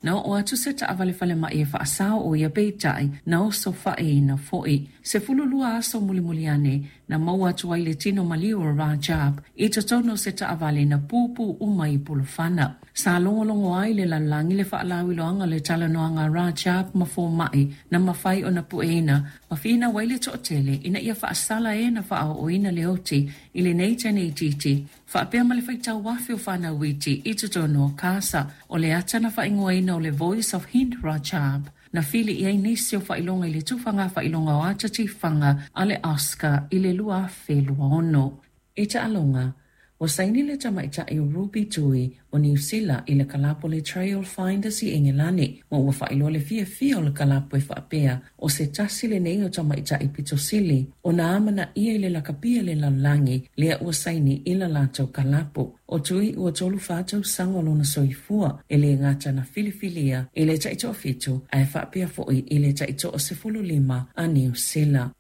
Na oo atu se taavale falemai e faasao o ia peitai na osofaiina foi. 12 aso mulimuli ane na maua atu ai le tino maliu o Rajab i totonu o se taavale na pupu uma i pulufana. Sa logologo ai le lalolagi le faalauiloaga o le talanoaga a Rajab ma fomaʻi na mafai ona pueina ma finau ai le toatele ina ia faasala e na faaooina le oti i lenei teine itiiti faapea ma le faitau afe o fanau iti i totonu o Gaza. O le ata na faaigoaina o le Voice of Hind Rajab na fili i ai nisi o faailoga i le tufaga faailoga o ata tifaga a le Oscar i le 2026. I taaloga, ua saini le tamaitai o Ruby Tui o Niu Sila i le kalapu o le Trailfinders i Engelani, ma ua faailoa le fiafia o le kalapu e faapea o se tasi lenei o tamaitai pito sili ona amanaia i le lakapi a le lalolagi lea ua saini i la latou kalapu. O Tui ua 34 tausaga o lona soifua, e le gata na filifilia i le taitoafitu ae faapea foi i le taitoa-15 a Niu Sila.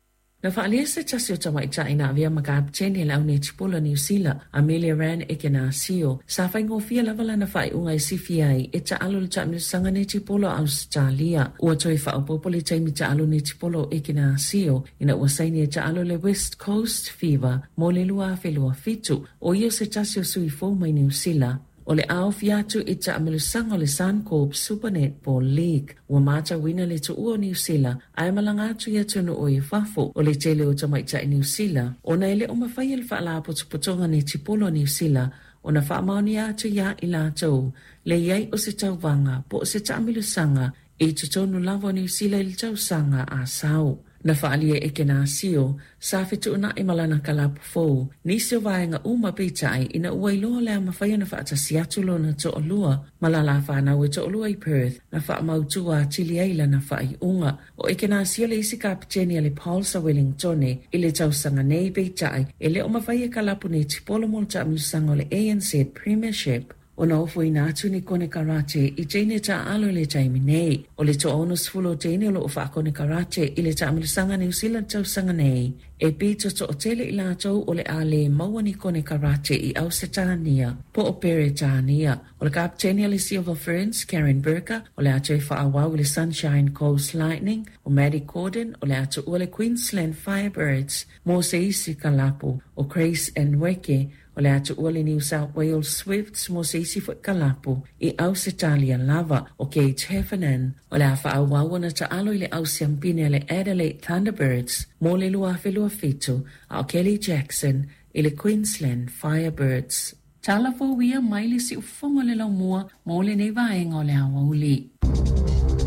Na faaalia se tasi o tamaitai na avea ma kapeteni a le au netipolo a Niu Sila, Ameliaranne Ekenasio, sa faigofie lava lana faaiuga e sifi ai e taalo i le taamilosaga netipolo a Ausetalia. Ua toe faaopoopo le taimi taalo netipolo o Ekenasio ina ua saini e taalo i le West Coast Fever mo le 2027. O ia se tasi o sui fou mai Niu Sila o le a ofi atu i taamilosaga o le Suncorp Super Netball League. Ua matauina le tuua o Niu Sila ae malaga atu i atunuu i fafo o le tele o tamaitai Niu Sila ona e le o mafai e le Faalapotopotoga Netipolo a Niu Sila ona faamaonia atu iā i latou le i ai o se tauvaga po o se taamilosaga i totonu lava o Niu Sila i le tausaga a sau. Na faaalia e Ekenasio, sa fetuunai ma lana kalapu fou, nisi o vaega uma peitai ina ua iloa o le a mafai ona faatasi atu lona toalua ma lala fanau e toalua i Perth na faamautu atili ai lana faaiuga. O Ekenasio le isi kapeteni a le Pulse a Wellingtone i le tausaga nei peitai e le o mafai e kalapu netipolo mo le taamilosaga o le ANZ Premiership ona ofoina atu ni konekarate i teine taaalo i le taimi nei. O le 60 o teine o loo faakonekarate i le taamilosaga Niu Sila tausaga nei e pito toatele i latou o le a le maua ni konekarate i Ausetania po o Peretania. O le kapeteni a le Silver Ferns, Karen Burker, o le a toe faaauau i le Sunshine Coast Lightning. O Maddie Gordon o le a tuua le Queensland Firebirds mo se isi kalapu. O Grace Nweke o le a tuua le New South Wales Swifts mo se isi foi kalapu i Ausetalia lava. O Kate Heffernan o le a faaauau ona taalo i le au siampine a le Adelaide Thunderbirds mo le 2027, a o Kelly Jackson i le Queensland Firebirds. Tala fou ia mai le siufofoga o le laumua mo lenei vaega o le aoauli.